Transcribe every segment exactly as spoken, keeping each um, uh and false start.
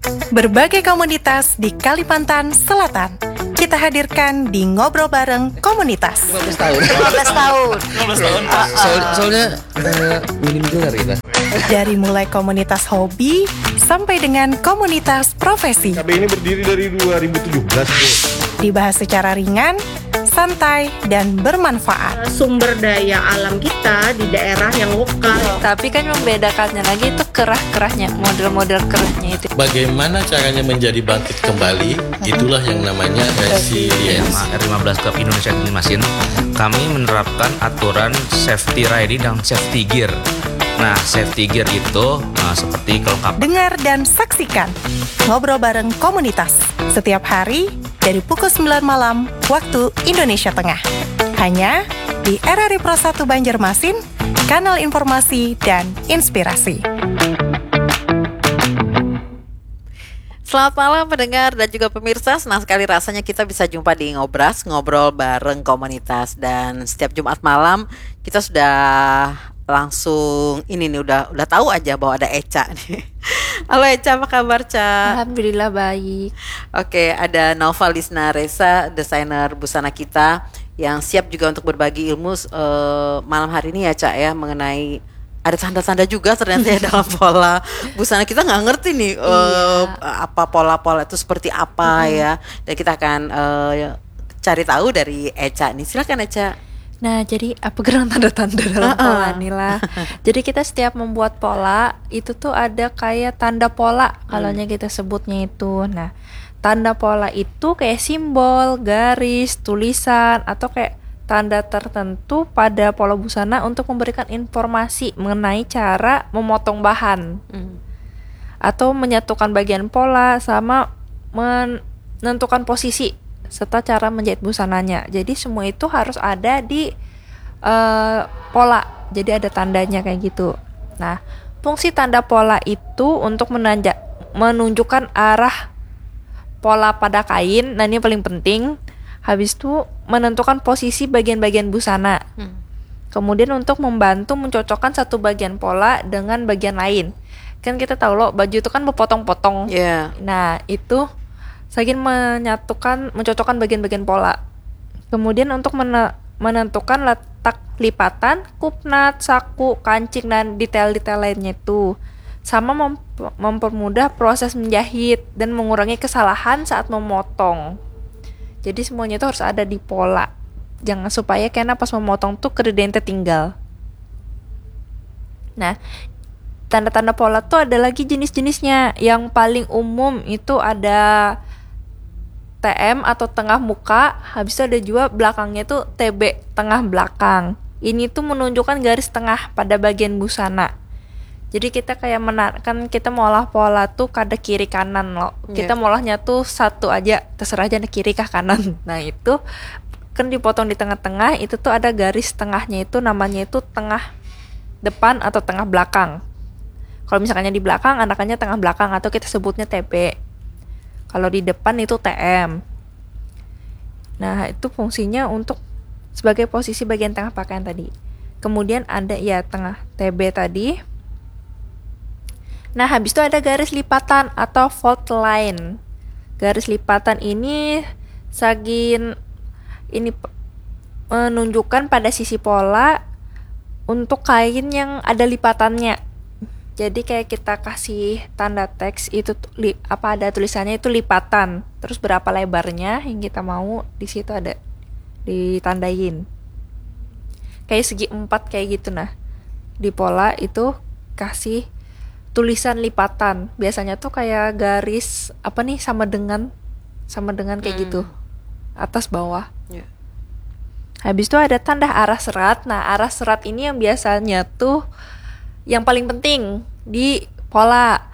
Berbagai komunitas di Kalimantan Selatan kita hadirkan di Ngobrol Bareng Komunitas. lima belas tahun. lima belas tahun. Soal- soalnya eh, minim gelar kita. Dari mulai komunitas hobi sampai dengan komunitas profesi. K B ini berdiri dari dua ribu tujuh belas, Bu. Dibahas secara ringan, santai, dan bermanfaat. Sumber daya alam kita di daerah yang lokal. Tapi kan membedakannya lagi itu kerah-kerahnya, model-model kerahnya itu. Bagaimana caranya menjadi bangkit kembali, itulah yang namanya resilience. R lima belas Club Indonesia Banjarmasin, kami menerapkan aturan safety riding dan safety gear. Nah, safety gear itu nah, seperti kelengkapan Dengar dan saksikan Ngobrol Bareng Komunitas setiap hari dari pukul sembilan malam waktu Indonesia Tengah. Hanya di R R I Pro satu Banjarmasin, kanal informasi dan inspirasi. Selamat malam pendengar dan juga pemirsa. Senang sekali rasanya kita bisa jumpa di Ngobras, ngobrol bareng komunitas. Dan setiap Jumat malam kita sudah langsung ini nih udah udah tahu aja bahwa ada Eca nih. Halo Eca, apa kabar Ca? Alhamdulillah baik. Oke, ada Nova Lisna Reza, desainer busana kita yang siap juga untuk berbagi ilmu eh, malam hari ini ya Ca ya, mengenai ada tanda-tanda juga ternyata ya dalam pola busana. Kita nggak ngerti nih eh, Iya. apa pola-pola itu seperti apa ya. Dan kita akan eh, cari tahu dari Eca nih. Silakan Eca. Nah, jadi apa gerang tanda-tanda dalam Heeh. pola nih lah? Jadi kita setiap membuat pola itu tuh ada kayak tanda pola kalau nya kita sebutnya itu. Nah, tanda pola itu kayak simbol, garis, tulisan, atau kayak tanda tertentu pada pola busana untuk memberikan informasi mengenai cara memotong bahan atau menyatukan bagian pola sama menentukan posisi serta cara menjahit busananya. Jadi semua itu harus ada di eh, pola. Jadi ada tandanya kayak gitu. Nah, fungsi tanda pola itu untuk menanja menunjukkan arah pola pada kain. Nah, ini paling penting. Habis itu menentukan posisi bagian-bagian busana. Kemudian untuk membantu mencocokkan satu bagian pola dengan bagian lain. Kan kita tahu loh, baju itu kan berpotong-potong. Ya. Nah, itu saking menyatukan, mencocokkan bagian-bagian pola. Kemudian untuk mene- menentukan letak lipatan, kupnat, saku, kancing, dan detail-detail lainnya itu. Sama mem- mempermudah proses menjahit dan mengurangi kesalahan saat memotong. Jadi semuanya itu harus ada di pola. Jangan supaya kena pas memotong tuh kededente tinggal. Nah, tanda-tanda pola tuh ada lagi jenis-jenisnya. Yang paling umum itu ada T M atau tengah muka, habis itu ada juga belakangnya tuh T B, tengah belakang. Ini tuh menunjukkan garis tengah pada bagian busana. Jadi kita kayak menar kan kita mau olah pola tuh kada kiri kanan loh. Iya. Kita mau olahnya tuh satu aja, terserah aja kiri kah kanan. Nah, itu kan dipotong di tengah-tengah, itu tuh ada garis tengahnya itu namanya itu tengah depan atau tengah belakang. Kalau misalkannya di belakang, anakannya tengah belakang atau kita sebutnya T B. Kalau di depan itu T M. Nah, itu fungsinya untuk sebagai posisi bagian tengah pakaian tadi. Kemudian ada ya tengah T B tadi. Nah, habis itu ada garis lipatan atau fold line. Garis lipatan ini sagin ini p- menunjukkan pada sisi pola untuk kain yang ada lipatannya. Jadi kayak kita kasih tanda teks itu tuh li- apa ada tulisannya itu lipatan. Terus berapa lebarnya yang kita mau di situ ada ditandain. Kayak segi empat kayak gitu nah. Di pola itu kasih tulisan lipatan. Biasanya tuh kayak garis apa nih sama dengan sama dengan kayak gitu. Atas bawah. Ya. Habis itu ada tanda arah serat. Nah, arah serat ini yang biasanya tuh yang paling penting di pola.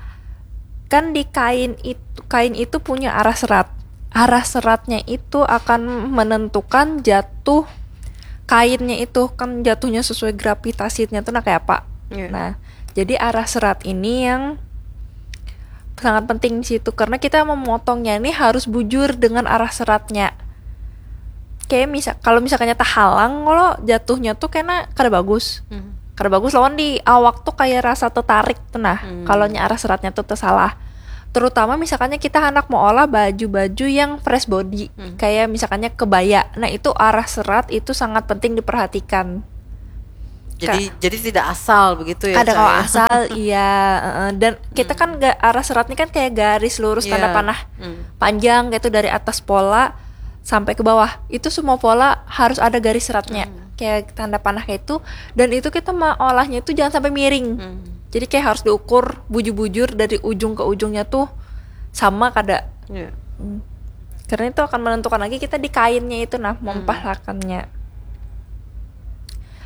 Kan di kain itu kain itu punya arah serat. Arah seratnya itu akan menentukan jatuh kainnya itu kan jatuhnya sesuai gravitasinya tuh nah kayak apa. Iya. Nah, jadi arah serat ini yang sangat penting di situ karena kita memotongnya ini harus bujur dengan arah seratnya. Kayak misal kalau misalkannya terhalang lo jatuhnya tuh kena kada bagus. Kada bagus lawan di awak tuh kayak rasa tertarik tuh nah. Kalau nya arah seratnya tuh tersalah. Terutama misalkannya kita handak meolah baju-baju yang fresh body, hmm. Kayak misalkannya kebaya. Nah, itu arah serat itu sangat penting diperhatikan. Jadi, jadi tidak asal begitu ya? Kada kalau asal, iya. Dan kita kan arah serat ini kan kayak garis lurus, yeah. Tanda panah, hmm. Panjang gitu dari atas pola sampai ke bawah. Itu semua pola harus ada garis seratnya, hmm. Kayak tanda panah kayak itu. Dan itu kita olahnya itu jangan sampai miring, hmm. Jadi kayak harus diukur bujur-bujur dari ujung ke ujungnya tuh sama kada, yeah. Hmm. Karena itu akan menentukan lagi kita di kainnya itu, nah, hmm. Mempahalakannya.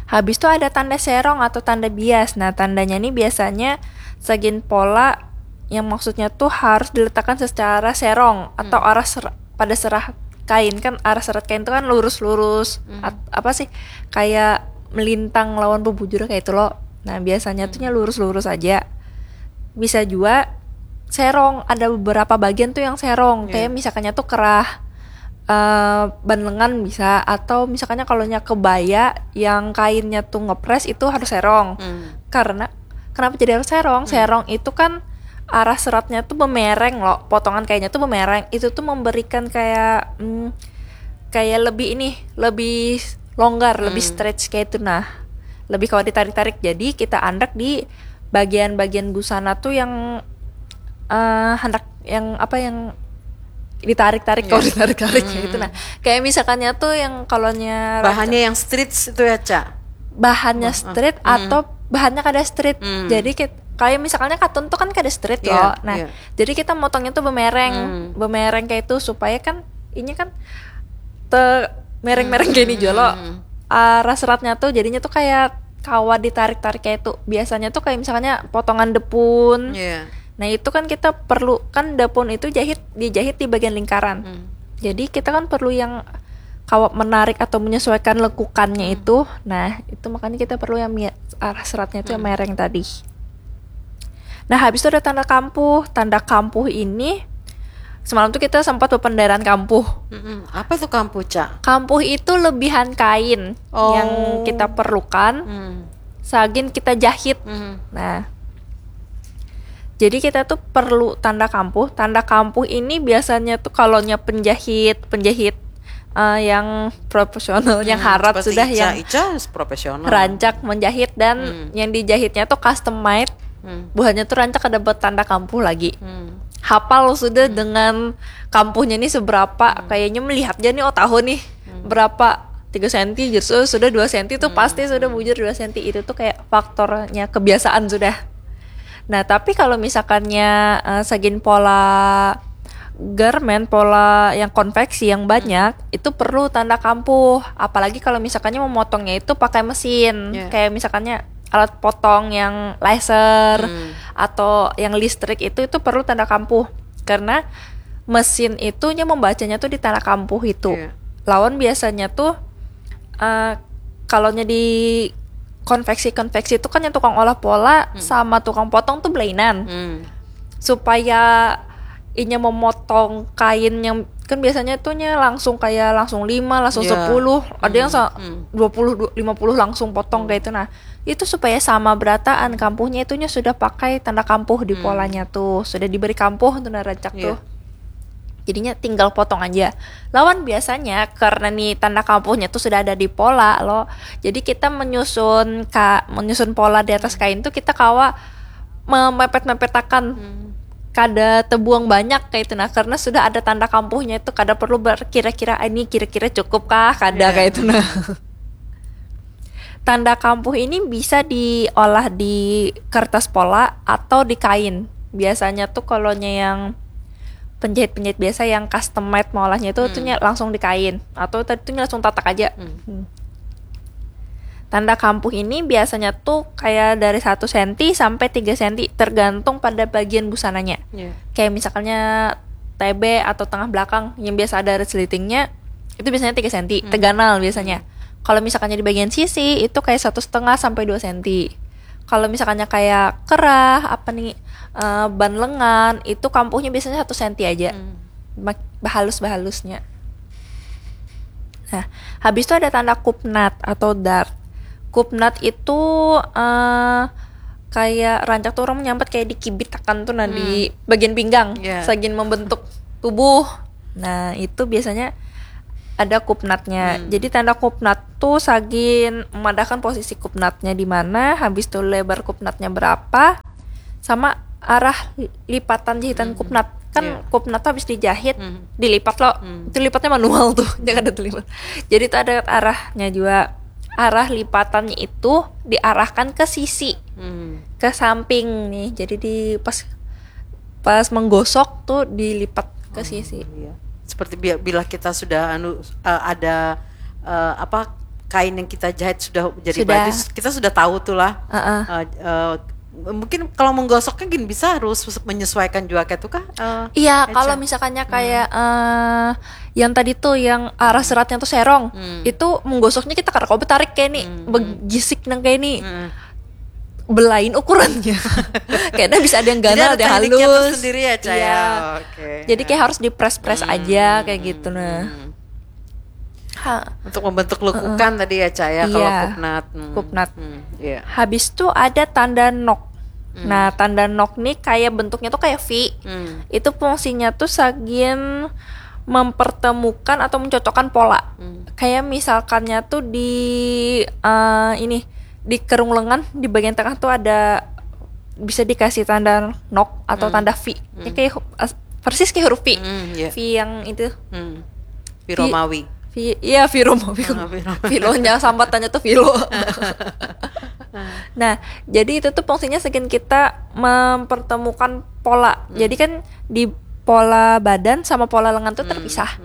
Habis itu ada tanda serong atau tanda bias. Nah, tandanya nih biasanya segin pola yang maksudnya tuh harus diletakkan secara serong atau, hmm. Arah ser pada serah kain. Kan arah serat kain itu kan lurus-lurus, hmm. Apa sih, kayak melintang lawan bubujur kayak itu loh. Nah, biasanya, hmm. Tuhnya lurus-lurus aja. Bisa juga serong, ada beberapa bagian tuh yang serong, yeah. Kayak misalkannya tuh kerah, uh, ban lengan bisa, atau misalkannya kalau nya kebaya yang kainnya tuh ngepres itu harus serong, hmm. Karena kenapa jadi harus serong? Hmm. Serong itu kan arah seratnya tuh bemereng loh, potongan kainnya tuh bemereng, itu tuh memberikan kayak, hmm, kayak lebih ini, lebih longgar, hmm. Lebih stretch kayak itu, nah, lebih kalau ditarik-tarik. Jadi kita andak di bagian-bagian busana tuh yang uh, handak yang apa yang ditarik-tarik, yeah. Kalau ditarik-tarik, hmm. Gitu. Nah, kayak misalkannya tuh yang kalau nya bahannya yang stretch itu ya, Ca? Bahannya, uh, stretch, hmm. Atau bahannya kada stretch, hmm. Jadi kita, kayak misalkannya katun tuh kan kada stretch, yeah, loh. Nah, yeah. Jadi kita motongnya tuh bemereng, hmm. Bemereng kayak itu supaya kan ini kan te mereng-mereng, hmm. Gini jolo, hmm. Arah seratnya tuh jadinya tuh kayak kawa ditarik-tarik kayak itu. Biasanya tuh kayak misalnya potongan depun. Yeah. Nah, itu kan kita perlu, kan depun itu jahit, dijahit di bagian lingkaran. Hmm. Jadi kita kan perlu yang kawa menarik atau menyesuaikan lekukannya, hmm. Itu. Nah, itu makanya kita perlu yang arah seratnya itu, hmm. Yang mereng tadi. Nah, habis itu ada tanda kampuh. Tanda kampuh ini, semalam tuh kita sempat bependeran kampuh. Mm-mm. Apa tuh kampuh, Ca? Kampuh itu lebihan kain, oh, yang kita perlukan, hmm. Sagin kita jahit. Hmm. Nah, jadi kita tuh perlu tanda kampuh. Tanda kampuh ini biasanya tuh kalau nya penjahit, penjahit uh, yang profesional, hmm, yang harat sudah, Ica, yang Ica profesional, rancak menjahit dan, hmm. Yang dijahitnya tuh custom made. Hmm. Buhannya tuh rancak kada buat tanda kampuh lagi. Hmm. Hapal sudah, hmm. Dengan kampuhnya nih seberapa, hmm. Kayaknya melihat aja nih, oh, tahu nih, hmm. Berapa, tiga senti, jadi sudah dua senti tuh, hmm. Pasti sudah bujur dua senti. Itu tuh kayak faktornya kebiasaan sudah. Nah, tapi kalau misalkannya uh, segin pola garment, pola yang konveksi yang banyak, hmm. Itu perlu tanda kampuh. Apalagi kalau misalkannya memotongnya itu pakai mesin, yeah. Kayak misalkannya alat potong yang laser, hmm. Atau yang listrik itu, itu perlu tanda kampuh karena mesin itunya membacanya tuh di tanda kampuh itu, yeah. Lawan biasanya tuh uh, kalau nya di konveksi-konveksi itu kan yang tukang olah pola, hmm. Sama tukang potong tuh belainan, hmm. Supaya inya memotong kain yang kan biasanya tuh nya langsung kayak langsung lima, langsung, yeah. Sepuluh, ada yang, hmm. Dua puluh, lima puluh langsung potong, hmm. Kayak itu. Nah, itu supaya sama berataan kampuhnya, itunya sudah pakai tanda kampuh di, hmm. Polanya tuh, sudah diberi kampuh tuh, nah, rancak, yeah. Tuh. Jadinya tinggal potong aja. Lawan biasanya karena nih tanda kampuhnya tuh sudah ada di pola loh. Jadi kita menyusun ka, menyusun pola di atas kain tuh kita kawa memepet-mepetakan. Hmm. Kada tebuang banyak kayak itu, nah, karena sudah ada tanda kampuhnya itu, kada perlu berkira-kira, ah, ini kira-kira cukup kah, kada, yeah. Kayak itu, nah. Tanda kampuh ini bisa diolah di kertas pola atau di kain. Biasanya tuh kalau nya yang penjahit-penjahit biasa yang custom made maolahnya itu, hmm. Tuh nya langsung di kain atau tadi tuh nya langsung tatak aja. Hmm. Hmm. Tanda kampuh ini biasanya tuh kayak dari satu senti sampai tiga senti, tergantung pada bagian busananya. Yeah. Kayak misalnya T B atau tengah belakang yang biasa ada resletingnya, itu biasanya tiga senti, hmm. Teganal biasanya. Hmm. Kalau misalkannya di bagian sisi, itu kayak satu setengah sampai dua senti. Kalau misalkannya kayak kerah, apa nih, uh, ban lengan, itu kampuhnya biasanya satu senti aja. Hmm. Bahalus-bahalusnya. Nah, habis itu ada tanda kupnat atau dart. Kupnat itu uh, kayak rancak tuh orang menyambat kayak dikibitakan tuh, nah, di bagian pinggang, Ya. Sagan membentuk tubuh. Nah, itu biasanya ada kupnatnya. Jadi tanda kupnat tuh sagan memadahkan posisi kupnatnya di mana, habis itu lebar kupnatnya berapa, sama arah lipatan jahitan kupnat. Kan Iya. Kupnat tuh habis dijahit, dilipat loh. Itu lipatnya manual tuh, jangan ada tulisan. Jadi itu ada arahnya juga. Arah lipatannya itu diarahkan ke sisi, Hmm. ke samping nih. Jadi di pas pas menggosok tuh dilipat ke sisi. Iya. Seperti bi- bila kita sudah anu, eh, ada, eh, apa, kain yang kita jahit sudah jadi Sudah. Baju, kita sudah tahu tuh lah. Heeh. Eh, eh, mungkin kalau menggosoknya gini bisa harus menyesuaikan juga kayak itu kah? Eh, Iya, Eca. Kalau misalkannya kayak eh, yang tadi tuh yang arah seratnya tuh serong, itu menggosoknya kita kada kawa betarik kayak ini, begisik nang kayak ini. Hmm. Belain ukurannya. Kayaknya bisa ada yang Jadi ganal, ada ada yang tekniknya halus. Tersendiri ya, Ca, ya? Iya. Oke. Jadi kayak harus di press press aja kayak gitu, nah. Hmm. Ha. Untuk membentuk lekukan tadi ya, Ca, ya, kalau Iya. Kupnat. Hmm. Kupnat. Hmm, iya. Habis tuh ada tanda Knox. Nah, tanda Knox nih kayak bentuknya tuh kayak V. Hmm. Itu fungsinya tuh sagan mempertemukan atau mencocokkan pola. Hmm. Kayak misalkannya tuh di eh, ini, di kerung lengan di bagian tengah tuh ada, bisa dikasih tanda Knox atau tanda V. Ya, kayak hu- as- persis kayak huruf V. Hmm, iya. V yang itu. Hmm. V Romawi. V, iya, V Romawi. Ah, V Romawi. Filonya, sambatannya tuh filo. Nah, jadi itu tuh fungsinya sagan kita mempertemukan pola. Jadi kan di pola badan sama pola lengan tuh terpisah.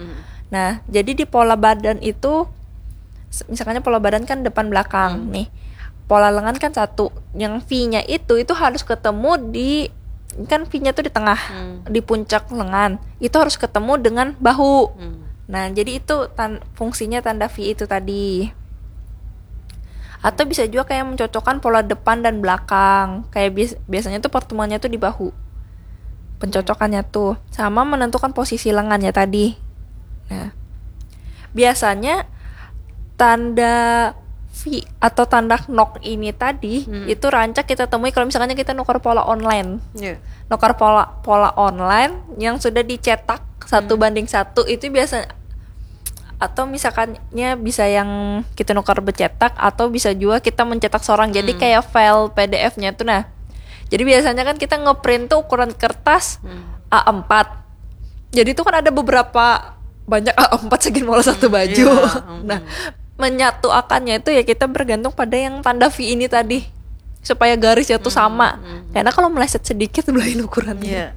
Nah, jadi di pola badan itu, s- misalkannya pola badan kan depan belakang nih. Pola lengan kan satu. Yang V-nya itu, itu harus ketemu di, kan V-nya tuh di tengah, di puncak lengan. Itu harus ketemu dengan bahu. Nah, jadi itu tan- fungsinya tanda V itu tadi. Atau bisa juga kayak mencocokkan pola depan dan belakang. Kayak bias- biasanya tuh pertemuannya tuh di bahu. Pencocokannya tuh sama menentukan posisi lengannya tadi. Nah, biasanya tanda V atau tanda Knox ini tadi itu rancak kita temui kalau misalnya kita nukar pola online. Iya. Nukar pola pola online yang sudah dicetak satu banding satu itu biasa, atau misalkannya bisa yang kita nukar bercetak atau bisa juga kita mencetak seorang, jadi kayak file P D F-nya tuh, nah. Jadi biasanya kan kita ngeprint tuh ukuran kertas A empat. Jadi itu kan ada beberapa, banyak A empat sagan maulah satu baju. Iya, mm. Nah, menyatuakannya itu ya kita bergantung pada yang tanda V ini tadi, supaya garisnya tuh sama. Karena kalau meleset sedikit belain ukurannya. Iya.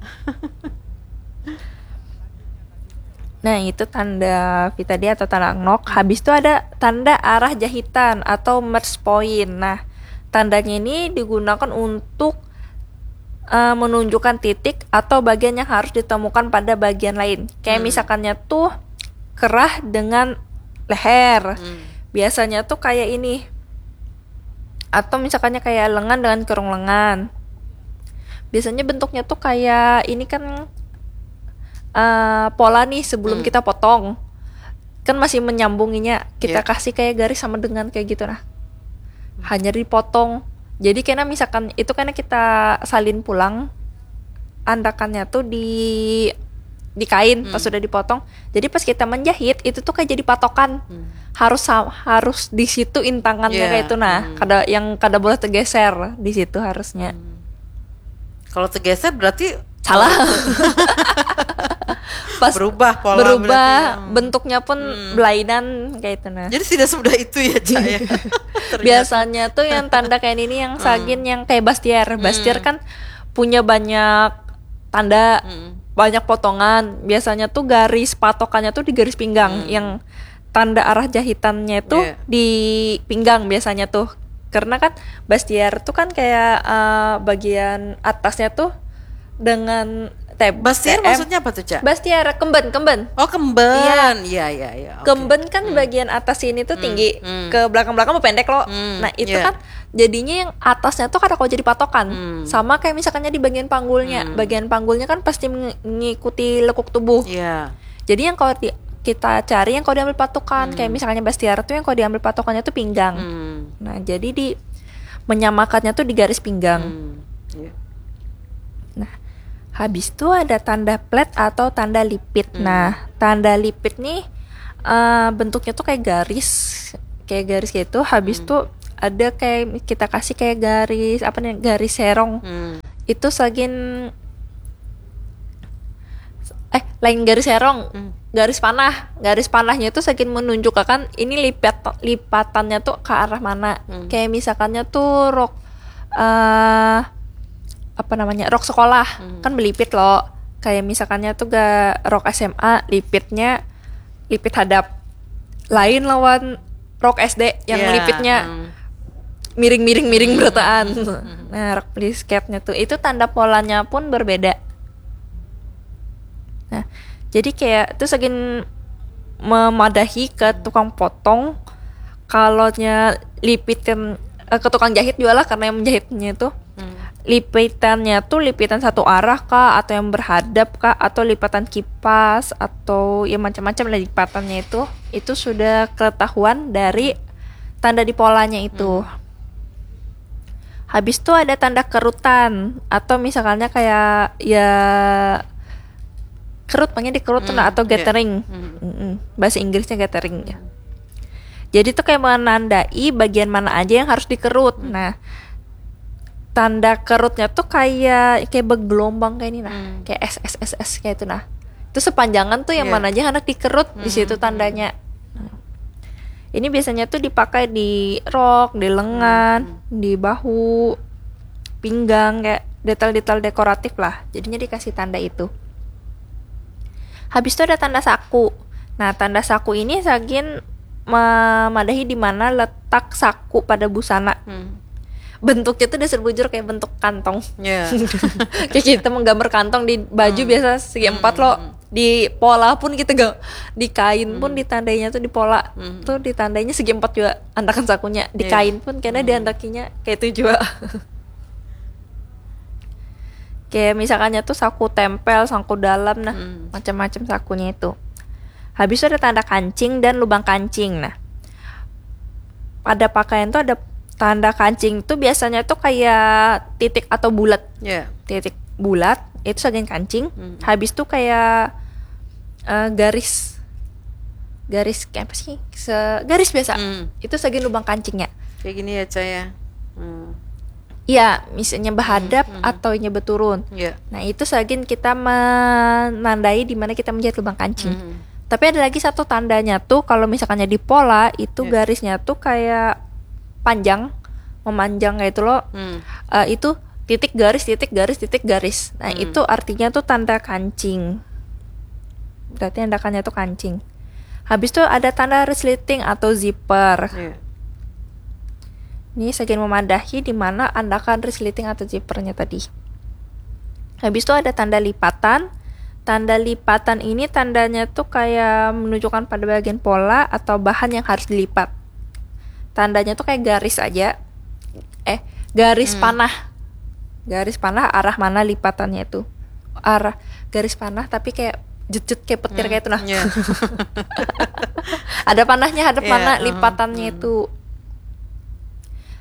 Nah, itu tanda V tadi atau tanda Knox. Habis itu ada tanda arah jahitan atau merge point. Nah, tandanya ini digunakan untuk eh, menunjukkan titik atau bagian yang harus ditemukan pada bagian lain. Kayak misalkannya tuh kerah dengan leher. Biasanya tuh kayak ini. Atau misalkannya kayak lengan dengan kerung lengan. Biasanya bentuknya tuh kayak ini kan, eh, pola nih sebelum kita potong. Kan masih menyambunginya, kita Iya. Kasih kayak garis sama dengan kayak gitu, nah. Hanya dipotong. Jadi karena misalkan itu karena kita salin pulang, andakannya tuh di di kain pas sudah dipotong. Jadi pas kita menjahit itu tuh kayak jadi patokan. Harus sa- harus di situ intangannya Iya. Kayak itu, nah. Kada, yang kada boleh tergeser di situ harusnya. Kalau tergeser berarti Salah. Pas Berubah pola berubah berarti, hmm. Bentuknya pun belainan kayak itu, nah. Jadi tidak semudah itu ya, Ca, ya. Ternyata. Biasanya tuh yang tanda kayak ini yang sagan yang kayak Bastier. Bastier kan punya banyak tanda, banyak potongan. Biasanya tuh garis patokannya tuh di garis pinggang, yang tanda arah jahitannya itu Iya. Di pinggang biasanya tuh. Karena kan Bastier tuh kan kayak eh, bagian atasnya tuh dengan tab Bastier T M. Maksudnya apa tuh, Ca? Bastier, kemben, kemben. Oh, kemben. Iya, iya, iya. Oke. Kemben kan bagian atas sini tuh tinggi, ke belakang-belakang pendek loh. Nah, itu iya. Kan jadinya yang atasnya tuh kada kawa jadi patokan. Hmm. Sama kayak misalkannya di bagian panggulnya. Bagian panggulnya kan pasti meng- mengikuti lekuk tubuh. Iya. Jadi yang kalau di- kita cari yang kalau diambil patokan, kayak misalnya Bastier tuh yang kalau diambil patokannya tuh pinggang. Hmm. Nah, jadi di menyamakannya tuh di garis pinggang. Hmm. Iya. Nah, habis itu ada tanda plat atau tanda lipit. Nah, tanda lipit nih eh, bentuknya tuh kayak garis, kayak garis gitu. Habis tuh ada kayak kita kasih kayak garis apa nih, garis serong. Hmm. Itu sagin eh lain garis serong, Hmm. garis panah. Garis panahnya tuh sagin menunjukkan ini lipat lipatannya tuh ke arah mana. Hmm. Kayak misalkannya tuh rok eh apa namanya, rok sekolah Hmm. kan belipit loh. Kayak misalkannya tuh gak rok S M A, lipitnya lipit hadap, lain lawan rok S D yang Iya, melipitnya hmm. miring-miring miring berataan. Nah, rok plisket-nya tuh itu tanda polanya pun berbeda. Nah, jadi kayak itu sagin memadahi ke tukang potong, kalau nya lipitan eh, ke tukang jahit juga lah, karena yang menjahitnya itu Hmm. lipitannya tuh lipitan satu arah kah, atau yang berhadap kah, atau lipatan kipas, atau ya macam-macam lah lipatannya itu. Itu sudah ketahuan dari tanda di polanya itu. Habis tuh ada tanda kerutan, atau misalkannya kayak ya kerut, makanya dikerut tuh, nah, atau Iya. gathering. Hmm. Mm-mm. Bahasa Inggrisnya gathering ya. Jadi tuh kayak menandai bagian mana aja yang harus dikerut. Nah, tanda kerutnya tuh kayak kayak bergelombang kayak ini, nah, Hmm. kayak S S S S kayak itu, nah. Itu sepanjangan tuh yang Iya. mana aja yang hendak dikerut, di situ tandanya. Nah. Ini biasanya tuh dipakai di rok, di lengan, di bahu, pinggang, kayak detail-detail dekoratif lah. Jadinya dikasih tanda itu. Habis itu ada tanda saku. Nah, tanda saku ini sagin memadahi di mana letak saku pada busana. Hmm. Bentuknya tuh dasar bujur kayak bentuk kantong. Ya. Kayak kita menggambar kantong di baju biasa segi empat loh. Di pola pun kita gak, di kain pun ditandainya tuh di pola. Hmm. Tuh ditandainya segi empat juga andakan sakunya. Di Iya. Kain pun karena diandakinya kayak itu juga. Kayak misalkannya tuh saku tempel, saku dalam, nah, Hmm. macam-macam sakunya itu. Habis itu ada tanda kancing dan lubang kancing. Nah, pada pakaian tuh ada tanda kancing tuh biasanya tuh kayak titik atau bulat. Ya. Titik bulat itu sagin kancing. Hmm. Habis tuh kayak eh, garis garis kayak apa sih? Se garis biasa. Hmm. Itu sagin lubang kancingnya. Kayak gini ya, Cah, ya. Hmm. Iya, misalnya berhadap atau nya berturun. Ya. Nah, itu sagin kita menandai di mana kita menjahit lubang kancing. Hmm. Tapi ada lagi satu tandanya tuh kalau misalkannya di pola itu Ya. Garisnya tuh kayak panjang, memanjang kayak itu loh. Hmm. Eh, itu titik garis titik garis titik garis. Nah, itu artinya tuh tanda kancing. Berarti andakannya tuh kancing. Habis tuh ada tanda resleting atau zipper. Ya. Ini sagin memadahi di mana andakan resleting atau zippernya tadi. Habis itu ada tanda lipatan. Tanda lipatan ini tandanya tuh kayak menunjukkan pada bagian pola atau bahan yang harus dilipat. Tandanya tuh kayak garis aja. Eh, garis panah. Garis panah arah mana lipatannya itu. Arah garis panah tapi kayak jet-jet kayak petir kayak itu, nah. Ya. Ada panahnya hadap Iya, mana uh-huh. Lipatannya itu.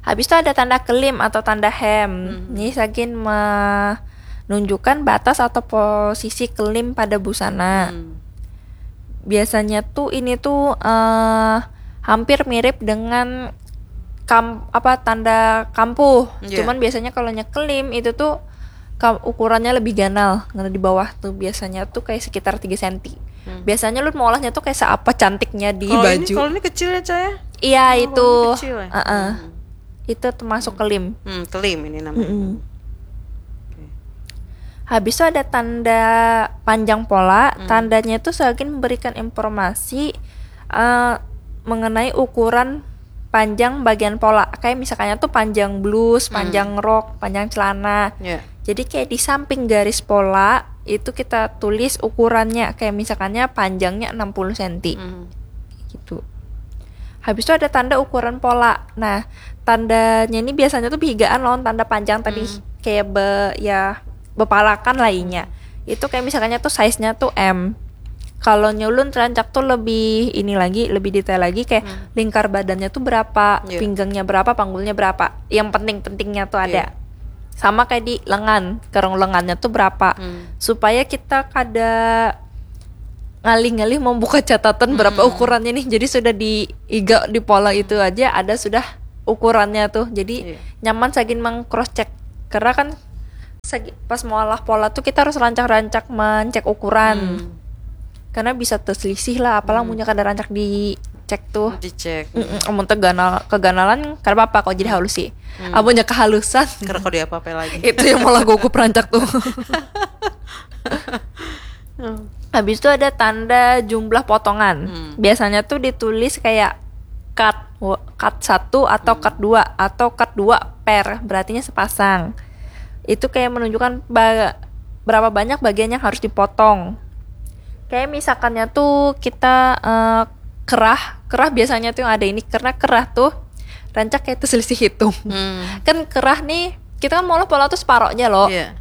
Habis itu ada tanda kelim atau tanda hem. Ini sagin menunjukkan batas atau posisi kelim pada busana. Hmm. Biasanya tuh ini tuh eh, hampir mirip dengan kam apa tanda kampuh. Iya. Cuman biasanya kalau nya kelim itu tuh kam- ukurannya lebih ganal. Karena di bawah tuh biasanya tuh kayak sekitar tiga senti. Hmm. Biasanya lu maulahnya tuh kayak seapa cantiknya di Kalau ini, baju. Kalau ini kecil ya, Cah, ya? Iya, Oh, itu. kalau ini kecil ya? Heeh. Hmm. Itu termasuk kelim. Hmm, kelim ini namanya. Mm-mm. Oke. Habis itu ada tanda panjang pola. Hmm. Tandanya itu sagin memberikan informasi eh, mengenai ukuran panjang bagian pola. Kayak misalkannya tuh panjang blus, Hmm. panjang rok, panjang celana. Ya. Jadi kayak di samping garis pola itu kita tulis ukurannya. Kayak misalkannya panjangnya enam puluh senti. Hmm. Gitu. Habis itu ada tanda ukuran pola. Nah, tandanya ini biasanya tuh behigaan lawan tanda panjang tadi. Hmm. Kayak be ya bepalakan lah inya. Itu kayak misalkannya tuh size-nya tuh M. Kalau nyulun rancak tuh lebih ini lagi, lebih detail lagi, kayak Hmm. lingkar badannya tuh berapa, Iya. pinggangnya berapa, panggulnya berapa. Yang penting-pentingnya tuh ada. Iya. Sama kayak di lengan, kerung lengannya tuh berapa. Hmm. Supaya kita kada ngalih-ngalih membuka catatan berapa Hmm. ukurannya nih. Jadi sudah di iga di pola itu aja ada sudah ukurannya tuh. Jadi Iya. nyaman sagin meng cross check. Karena kan sagi- pas maulah pola tuh kita harus rancak-rancak mencek ukuran. Hmm. Karena bisa terselisih lah, apalah Hmm. munnya kada rancak dicek tuh. Dicek. Mm-mm, amun teganal keganalan kada apa-apa kok jadi halusi. Hmm. Amunnya kehalusan Karena kau diapa-apa lagi. Itu yang malah gugup rancak tuh. Hmm. Habis itu ada tanda jumlah potongan. Hmm. Biasanya tuh ditulis kayak cut, wo- cut satu atau cut dua atau cut dua per, berartinya sepasang. Itu kayak menunjukkan ba- berapa banyak bagian yang harus dipotong. Kayak misalkannya tuh kita eh, kerah, kerah biasanya tuh yang ada ini karena kerah tuh rancak kayak itu selisih hitung. Hmm. Kan kerah nih kita kan maulah pola tuh separohnya loh. Iya.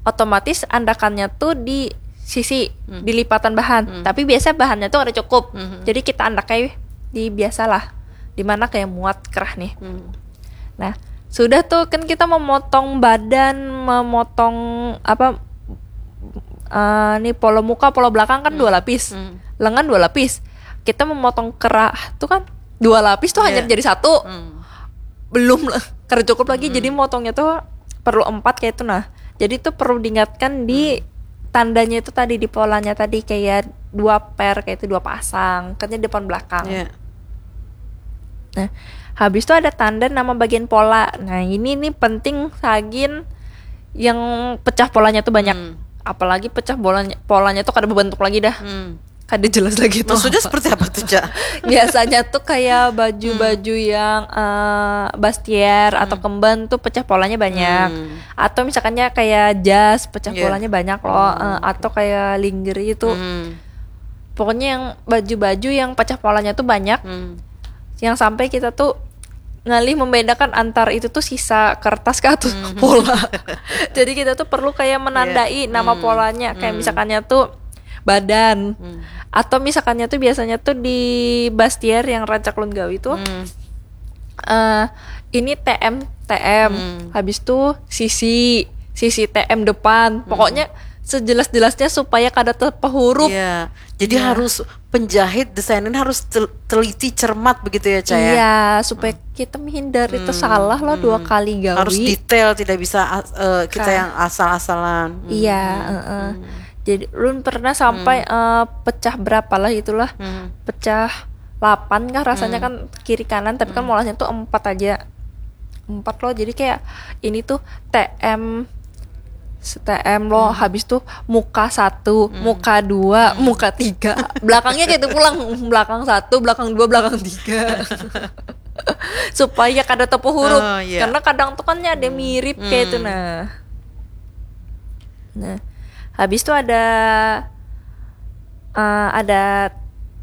Otomatis andakannya tuh di sisi Hmm. di lipatan bahan. Hmm. Tapi biasa bahannya tuh ada cukup. Hmm. Jadi kita andak kayak di biasalah di mana kayak muat kerah nih. Hmm. Nah, sudah tuh kan kita memotong badan, memotong apa eh nih pola muka, pola belakang kan dua lapis. Hmm. Lengan dua lapis. Kita memotong kerah tuh kan dua lapis tuh hanya Iya. jadi satu. Hmm. Belum lah, kada cukup lagi. Jadi motongnya tuh perlu empat kayak itu nah. Jadi tuh perlu diingatkan di tandanya itu tadi, di polanya tadi, kayak dua per, kayak itu dua pasang, katanya depan belakang. Iya. Nah, habis itu ada tanda nama bagian pola. Nah, ini nih penting sagin yang pecah polanya tuh banyak. Hmm. Apalagi pecah bolanya, polanya tuh kada berbentuk lagi dah. Hmm. Kada jelas lagi tuh. Maksudnya Apa. Seperti apa tuh, Cak? Biasanya tuh kayak baju-baju yang eh, bustier atau kemben tuh pecah polanya banyak. Hmm. Atau misalkannya kayak jas pecah Iya. polanya banyak loh. Eh, atau kayak lingerie itu. Hmm. Pokoknya yang baju-baju yang pecah polanya tuh banyak. Hmm. Yang sampai kita tuh ngalih membedakan antar itu tuh sisa kertas kah atau pola. Jadi kita tuh perlu kayak menandai Iya. nama Hmm. polanya. Kayak Hmm. Misalkannya tuh badan. Hmm. Atau misalkannya tuh biasanya tuh di bustier yang rancak lun gawi tuh Hmm. eh ini T M T M. Hmm. Habis tuh sisi sisi T M depan. Pokoknya sejelas-jelasnya supaya kada terpehurup. Iya. Jadi Iya. Harus penjahit, desainer harus tel- teliti, cermat begitu ya, Cak, ya? Iya, supaya kita menghindar itu salah lah dua kali gawi. Harus detail, tidak bisa as- eh, kita Kah. Yang asal-asalan. Hmm. Iya, heeh. Jadi lun pernah sampai eh, pecah berapa lah itulah. Hmm. Pecah delapan kah rasanya kan kiri kanan, tapi kan molahnya tuh empat aja. Empat loh. Jadi kayak ini tuh T M T M loh, habis tuh muka satu, muka dua, muka tiga, belakangnya kayak itu pulang, belakang satu, belakang dua, belakang tiga. Supaya kada tepuhurup. Oh, iya. Karena kadang tuh kan ada mirip kayak itu nah. Nah, habis tuh ada eh, ada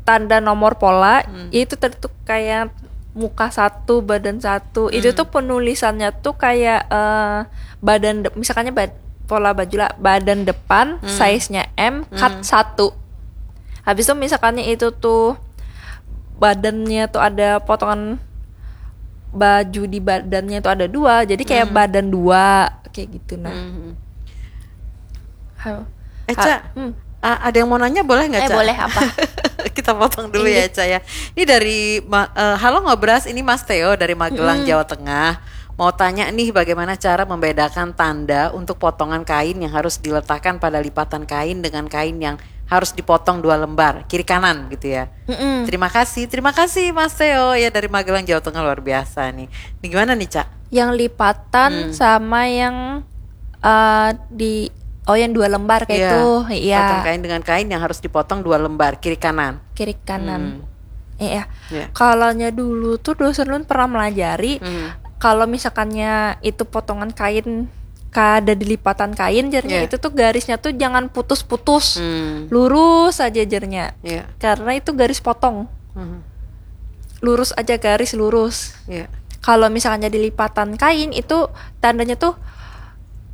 tanda nomor pola, itu tadi tuh kayak muka satu, badan satu. Itu tuh penulisannya tuh kayak eh, badan de- misalkannya bad- pola baju lah, badan depan, size-nya M, cut satu. Habis itu misalkannya itu tuh badannya tuh ada potongan baju di badannya tuh ada dua, jadi kayak badan dua kayak gitu nah. Hmm. Halo. Eh, Ha- Cak, hmm. a- ada yang mau nanya, boleh nggak, Eh, Cak? Boleh, apa? Kita potong dulu ya, Cak, ya. Ini dari Ma- eh, Halo Ngobras, ini Mas Theo dari Magelang, Jawa Tengah. Mau tanya nih, bagaimana cara membedakan tanda untuk potongan kain yang harus diletakkan pada lipatan kain dengan kain yang harus dipotong dua lembar, kiri kanan gitu ya. Mm-mm. Terima kasih, terima kasih Mas Theo ya, dari Magelang, Jawa Tengah, luar biasa nih. Ini gimana nih, Cak? Yang lipatan sama yang eh, di oh, yang dua lembar kayak Iya, itu. Potong Iya. Kain dengan kain yang harus dipotong dua lembar, kiri kanan. Kiri kanan. Hmm. Iya. Iya. Kalaunya dulu tuh dosen lun pernah melajari Hmm. kalau misalkannya itu potongan kain kada di lipatan kain, jarnya Iya. Itu tuh garisnya tuh jangan putus-putus. Hmm. Lurus aja, jarnya. Iya. Karena itu garis potong. Hmm. Lurus aja garis lurus. Iya. Kalau misalkannya di lipatan kain itu tandanya tuh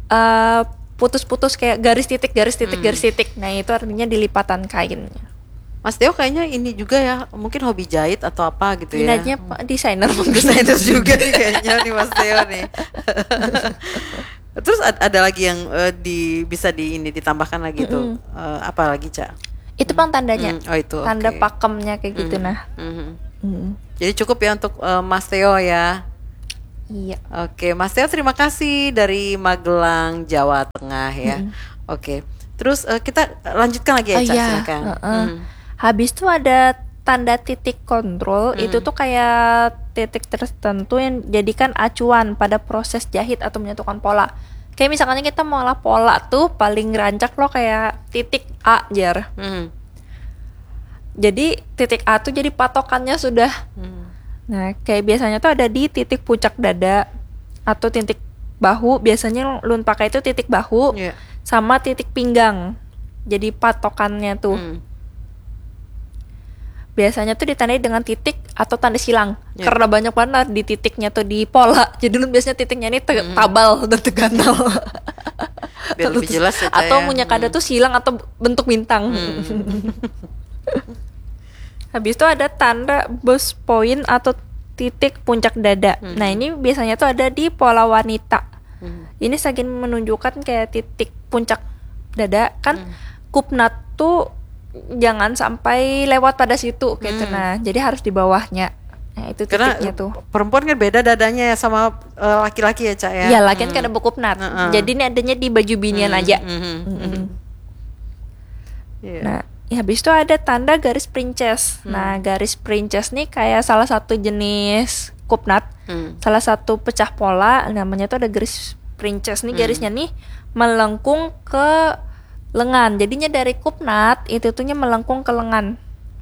eh, putus-putus kayak garis titik, garis titik, garis titik. Nah, itu artinya di lipatan kain. Mas Teo kayaknya ini juga ya, mungkin hobi jahit atau apa gitu ya. Minatnya Pak desainer mungkin. Desainer juga nih kayaknya nih Mas Teo nih. Terus ad- ada lagi yang eh, di bisa di ini ditambahkan lagi tuh. Eh, apa lagi, Cak? Itu pang tandanya. Hmm, oh, itu, Tanda oke. Pakemnya kayak gitu nah. Mhm. Mm. Jadi cukup ya untuk eh, Mas Teo ya. Iya. Oke, Mas Teo, terima kasih dari Magelang, Jawa Tengah ya. Oke. Terus eh, kita lanjutkan lagi ya, Oh, Cak, iya, silakan. Heeh. Hmm. Habis tuh ada tanda titik kontrol, itu tuh kayak titik tertentu yang jadikan acuan pada proses jahit atau menyatukan pola. Kayak misalnya kita mau olah pola tuh paling rancak lo kayak titik A, jar. Hmm. Jadi titik A tuh jadi patokannya sudah. Hmm. Nah, kayak biasanya tuh ada di titik puncak dada atau titik bahu. Biasanya lun pakai itu titik bahu Iya. sama titik pinggang. Jadi patokannya tuh. Hmm. Biasanya tuh ditandai dengan titik atau tanda silang. Iya. Karena banyak banget di titiknya tuh di pola. Jadi lun biasanya titiknya ini te- tabal dan teganal. Biar lebih jelas ya, Cak, Atau ya. Punya kada tuh silang atau bentuk bintang. Habis itu ada tanda burst point atau titik puncak dada. Nah, ini biasanya tuh ada di pola wanita. Ini saking menunjukkan kayak titik puncak dada kan. Kupnat tuh jangan sampai lewat pada situ gitu. Nah, jadi harus di bawahnya. Nah, itu Karena titiknya tuh. Perempuan kan beda dadanya ya sama eh, laki-laki ya, Cak, ya. Ya, lakian kada bekupnat. Jadi ini adanya di baju binian aja. Mhm. Mm-mm. Iya. Nah, ya, habis itu ada tanda garis princess. Nah, garis princess nih kayak salah satu jenis kupnat, Hmm. salah satu pecah pola, namanya tuh ada garis princess nih. Garisnya nih melengkung ke lengan. Jadinya dari kupnat itu tuhnya melengkung ke lengan.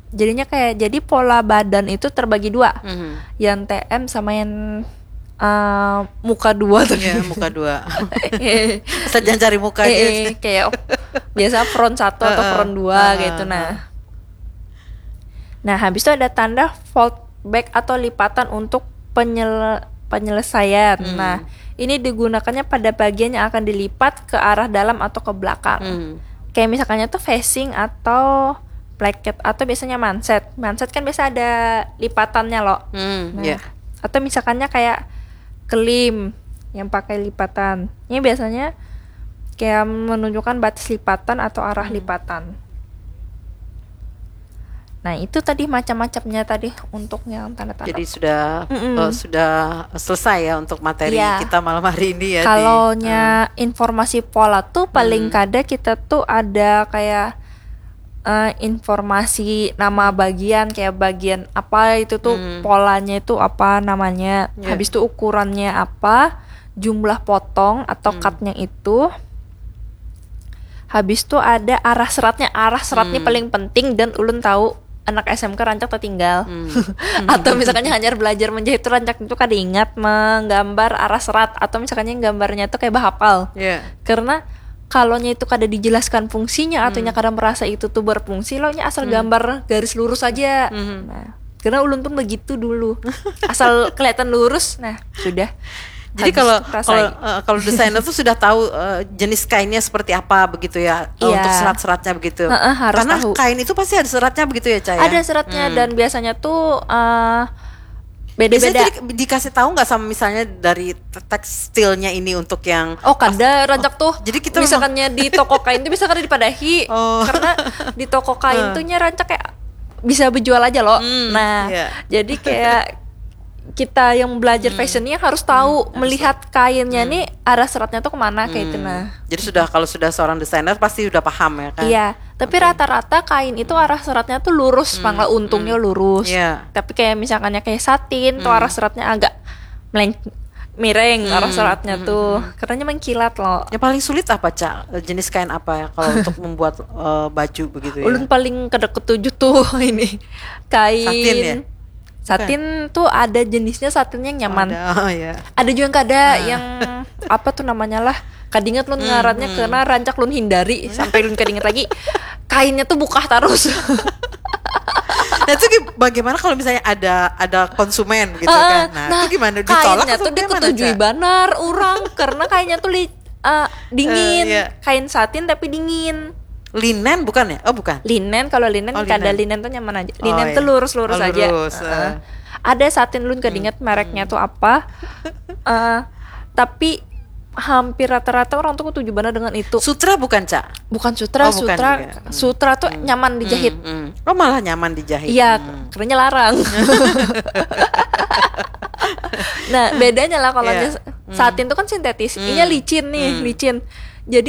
Jadinya kayak, jadi pola badan itu terbagi dua. Mhm. Yang T M sama yang eh, muka dua tuh. Ya, muka dua. Asal jangan cari muka aja. Eh, eh, kayak oh, biasa front satu atau Heeh. Front dua Heeh, gitu. Nah, nah, habis itu ada tanda fold back atau lipatan untuk penyel- penyelesaian. Hmm. Nah, ini digunakannya pada bagian yang akan dilipat ke arah dalam atau ke belakang. Hmm. Kayak misalkannya tuh facing atau placket atau biasanya manset. Manset kan biasa ada lipatannya loh. Hmm, Nah, ya. Atau misalkannya kayak kelim yang pakai lipatan. Ini biasanya kayak menunjukkan batas lipatan atau arah lipatan. Nah, itu tadi macam-macamnya tadi untuk yang tanda-tanda. Jadi sudah Mm-mm. eh, sudah selesai ya untuk materi Iya. kita malam hari ini ya. Di- Kalau nya informasi pola tuh paling kada kita tuh ada kayak eh, informasi nama bagian, kayak bagian apa itu tuh, polanya itu apa namanya, Iya. Habis itu ukurannya apa, jumlah potong atau cutnya itu. Habis itu ada arah seratnya. Arah serat nih paling penting dan ulun tahu anak S M K rancak tertinggal. Atau misalkannya hanyar belajar menjahit tuh rancak itu kada ingat menggambar arah serat atau misalkannya gambarnya tuh kayak bahapal. Ya. Karena kalau nya itu kada dijelaskan fungsinya atau nya kada merasa itu tuh berfungsi, lo nya asal gambar garis lurus aja. Nah, karena ulun pun begitu dulu. Asal kelihatan lurus, nah sudah. Jadi Habis kalau itu selesai. kalau eh, kalau desainer tuh sudah tahu eh, jenis kainnya seperti apa begitu ya, eh, Iya. Untuk serat-seratnya begitu. Heeh, harus Karena tahu. Kain itu pasti ada seratnya begitu ya, Cak, ya? Ada seratnya dan biasanya tuh eh, Biasanya beda-beda. tuh di- dikasih tahu nggak sama misalnya dari te- tekstilnya ini untuk yang Oh, kada rancak tuh. Jadi kita Misalkannya di toko kain tuh bisa kada dipadahi. Oh. Karena di toko kain tuh nya rancak kayak bisa berjual aja loh. Nah, iya. Jadi kayak kita yang belajar fashion ini harus tahu melihat kainnya nih arah seratnya tuh kemana kayak itu nah. Jadi sudah kalau sudah seorang desainer pasti sudah paham ya kan? Iya, tapi rata-rata kain itu arah seratnya tuh lurus, pang lah untungnya lurus. Iya. Tapi kayak misalkannya kayak satin tuh arah seratnya agak meleng miring arah seratnya tuh. Karena mengkilat loh. Yang paling sulit apa, Cak? Jenis kain apa ya kalau untuk membuat eh, baju begitu ya? Ulun paling kada ketuju tuh ini kain. Satin ya? Satin tuh ada jenisnya satin yang nyaman. Ada, oh ya. Ada juga yang kada yang apa tuh namanya lah. Kadingat lun ngarannya karena rancak lun hindari sampai lun kadingat lagi. Kainnya tuh bukah terus. Nah, itu gi- bagaimana kalau misalnya ada ada konsumen gitu kan? Nah, itu gimana? Ditolak Kainnya atau tuh gimana, diketujui Cak? Banar orang karena kainnya tuh li, eh, dingin. Eh, iya. Kain satin tapi dingin. Linen bukan ya? Oh, bukan. Linen, kalau linen Oh, kada, linen. Linen tuh nyaman aja. Linen iya. Tuh lurus-lurus Oh, aja. Lurus, Heeh. Eh. Ada satin, lun kada ingat mereknya tuh apa. Eh, tapi hampir rata-rata orang tuh ketuju banget dengan itu. Sutra bukan, Cak? Bukan sutra, Oh, bukan sutra, juga. Hmm. Sutra tuh nyaman dijahit. Hmm, hmm. Oh, malah nyaman dijahit. Iya, Hmm. kerennya larang. Nah, bedanya lah kalau Iya. misalnya satin tuh kan sintetis, Hmm. inya licin nih, Hmm. licin.